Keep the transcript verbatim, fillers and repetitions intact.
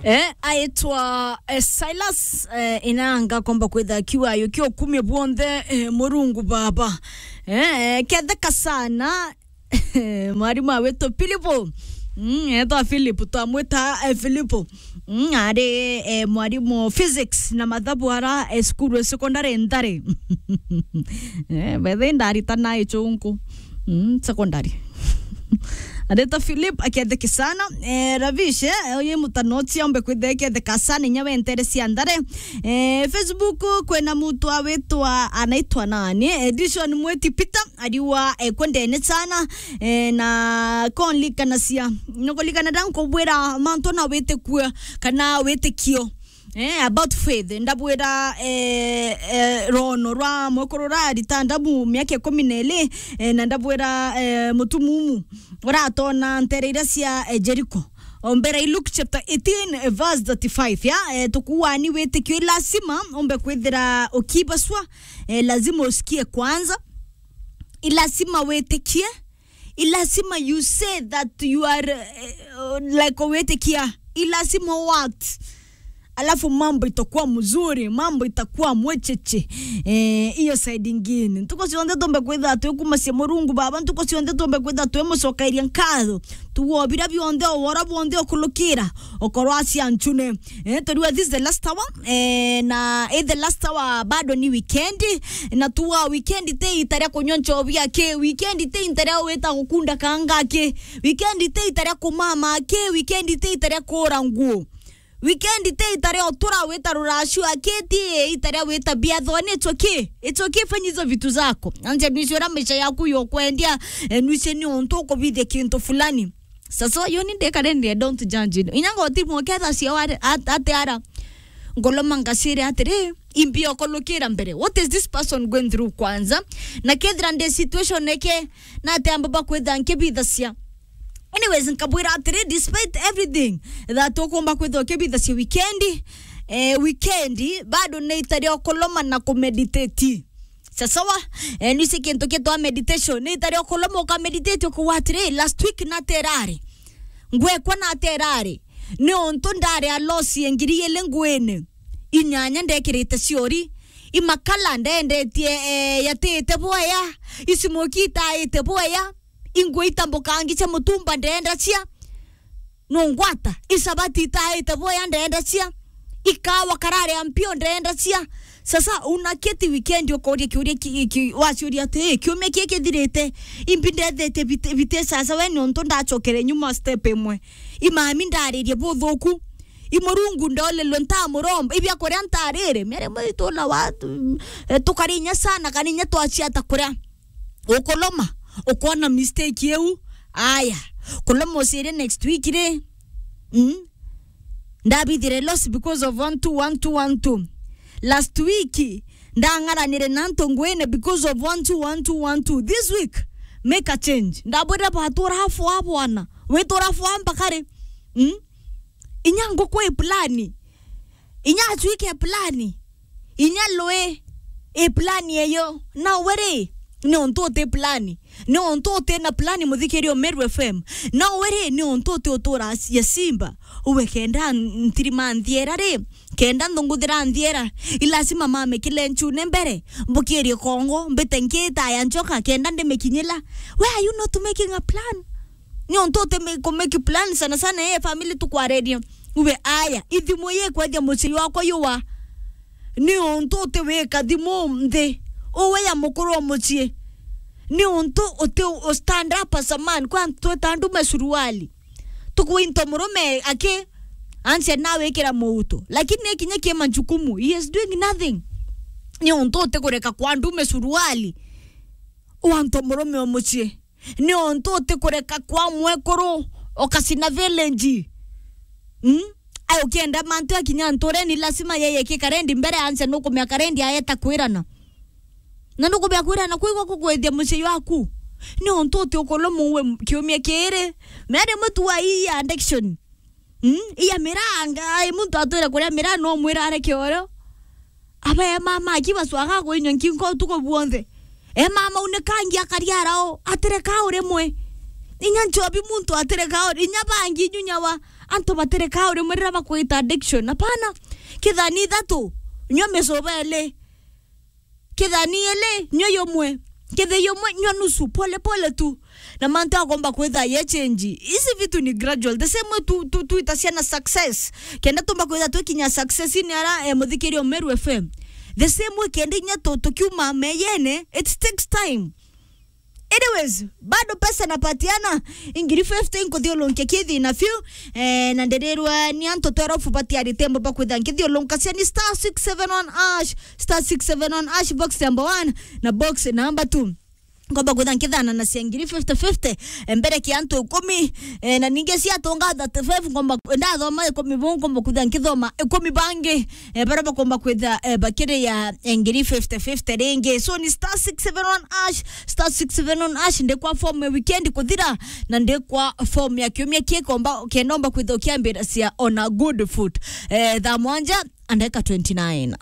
Eh, aitwa, eh, Silas, eh, Inanga, komba kwitha kiwa yo kio kumia bwonthe, eh, Murungu Baba. Eh, ketheka sana, mwarimu awitu Filipo. Mm, etwa Filipo, twamwita, eh, Filipo. Mm, ari, eh, mwarimu physics na mathabu ara, eh, cukuru ya secondary Ntare. Eh, bethe ndaritana ichunku. Mm, secondary. Areta Philip, aketheke sana. Eh, Ravish, eh, oye mutanoti ombe kwitheke theka sana, inya wentere cia Ntare. Eh, Facebook, kwena mutu awitwa, anaitwa nani? Eh, Dishon Mweti Peter, ariwa, eh, kwendene sana. Eh, na konlikanacia. Nokolikana da nkubwira mantu na witikua, kana witikio. Eh, about faith, ndabwira, eh, eh, rono rwa mwekuru urarita ndabu miaka ikumi na iri, eh, na ndabwira, eh, mutumumu uratona ntere iria cia, eh, Jericho. Ombera i Luke chapter eighteen, eh, verse thirty-five, ya, eh, tukuani witikio i lazima umbe kwithira ukibaswa, eh, lazima usikie kwanza. I lazima witikie, i lazima you say that you are, eh, like, witikia, i lazima what? Alafu mambo itakuwa mzuri, mambo itakuwa mwecheche. Eh, iyo side ingine. Ntuko cionthe tumbe kwitha twi kumacia Murungu Baba, ntuko cionthe tumbe kwitha twi mucokeria nkatho. Tuwo bira bionthe, owora bwonthe okulukira, okorwo acia nchune. Eh, turiwa this is the last hour. Eh, na, eh, the last hour bado ni weekend. Na tuwa weekend te ita ria kunywa nchobi aki, weekend te ita ria wita gukunda kanga aki, weekend te ita ria kumama aki, weekend te ita ria kura nguo. Weekend te ita ria utura wita ruracio aki, ti ita ria wita biathoni, it's okay. It's okay, fanya hizo vitu zako. Anje nuisi ura maisha yaku yokwendia, eh, nuisi ni untu ukubithia kintu fulani. Sasa, yo ni ndekare ndi, I don't judge you. Inya ngoti muketha cio wari, at-, ate ara. Ngoloma ngacire atiri, imbi okolokira mbere. What is this person going through kwanza? Na kethira ndi situation eke, na ate amba bakwitha nkibithacia. Anyways, nkabwira atiri, despite everything that ukumba kwitha ukibithacia weekend, eh, weekend, bado ni ita ria ukoloma na kumeditate. Sasawa, eh, nisi kintu kitwa meditation. Ni ita ria ukoloma ukameditate, ukuwa atiri, last week naterari. Ngwekwa naterari. Ni untu ndari a loss ya ngiri ili nguine. Inyanya ndekirite ciori. Imakala ndendetie, eh, yatite bwaya. Isimoki itaite bwaya. Ingwe itambukangi cia mutumba ndenda cia. Nungwata, isabati itaite bwaya ndenda cia. Ikawa karare ya mpio ndenda cia. Sasa unaketi weekend ukoria kiuria ki, ki, waciuria ati, "Ii, kiumia kii kithirite, imbi ndethete bite, bite sasa we nontu ndachokere nyuma step imwe. Imami ndaririe buthuku. Imurungu ndolelwe ntamuromba. Ibia kuria ntarire." Mere mwitu na watu, eh, tukari inya sana, kana inya twaciata kuria. Ukoloma, ukona mistake iu. Aya, koloma ucirie next week ri. Mm? Ndabithire loss because of one two, one two, one two. Last week, ndang'aranire na antu ngwine because of one two, one two, one two. This week, make a change. Ndabwire batura fwa bwana. Witura fwa mpaka ri? Mm? Inya nguku i plani. Inya acuike plani. Inya lwe i plani eyo. Na we ri, ni untu uti plani. Ni untu uti na plani, muthikiria Meru F M. Na we ri, ni untu uti utura ya simba. Uwe kenda ntirima nthiera ri, kenda nthunguthira nthiera. I lazima mame kile nchune mbere. Mbukirie kongo, mbite nkita ya nchoka, kenda ndimikinyila. Why are you not making a plan? Ni untu uti me-, ku make plan sana sana, eh, family tukwareria. Ube aya, ithimu ye kwethia mucii wakwa yuwa. Ni untu uti wika thimu nthi. Uwe ya mukuru wa mucii. Ni untu uti u stand up as a man. Kwa tweta ndume suruali. Tukwinto murume aki, ansia nawe ikira muuto. Lakini ni kinya ki majukumu. He is doing nothing. Ni untu uti kureka kwa ndume suruali. Wanto murume wa mucii. Ni untu uti kureka kwa mwekuru ukacina village. Mm? Ai ukienda mantu akinya ntureni, lazima yeye ki karendi mbere anse nukumia karendi aeta kwirana. Na nukumia kwirana kwigwa kukwithia mucii waku. Ni untu uti ukoloma uwe kiumia kiri. Mere mutu wa hii addiction. Mm, iya miraa, ngai muntu atwire kuria miraa no mwira areke oro. Aba e mama aki bacwaga kwinywa nkingo utuku bwonthe. E mama unikangi akariara o, atireka urimwe. Inya nchobi muntu atireka uri, inya bangi inyunya wa, Antu batireka uri murira bakwita addiction. Hapana. Kithani ithatu, nyua micuba ili. Kithani ili, nyua yumwe. Kithi yumwe, nyua nusu. Pole pole tu. Na mantu akomba kwitha ye change. Hizi vitu ni gradual. The same way tu, tu, tu itaciana success. Kenda tumba kwitha twikinya success ni ara, eh, muthikiri Meru F M. The same way kenda inya tu, tukiuma meyene, it takes time. Anyways, bado pesa napatiana, ingiri fifty nkuthiulunkia kithi na few, eh, na ndirirwa ni antu twelve batiari tembo bakwitha nkithiulunkia cia ni star six seven one hash, star six seven one hash, box number one na box number two. Ngomba kwitha nkithana na cia ngiri fifty fifty, eh, mbere ki antu ikumi, eh, na ningi cia tunga thirty-five, ngomba kwi-, ndathoma ikumi buu, ngomba kwitha nkithoma ikumi bangi, eh, bara bakomba kwitha, eh, bakiria, eh, ngiri fifty fifty ringi. So ni star six seven one hash, star six seven one hash, ndi kwa form ya weekend kuthira, na ndi kwa form ya kiumia kikomba, kenda omba kwitha ukiambira cia on a good foot. Eh, thaa mwanja, andeka twenty-nine.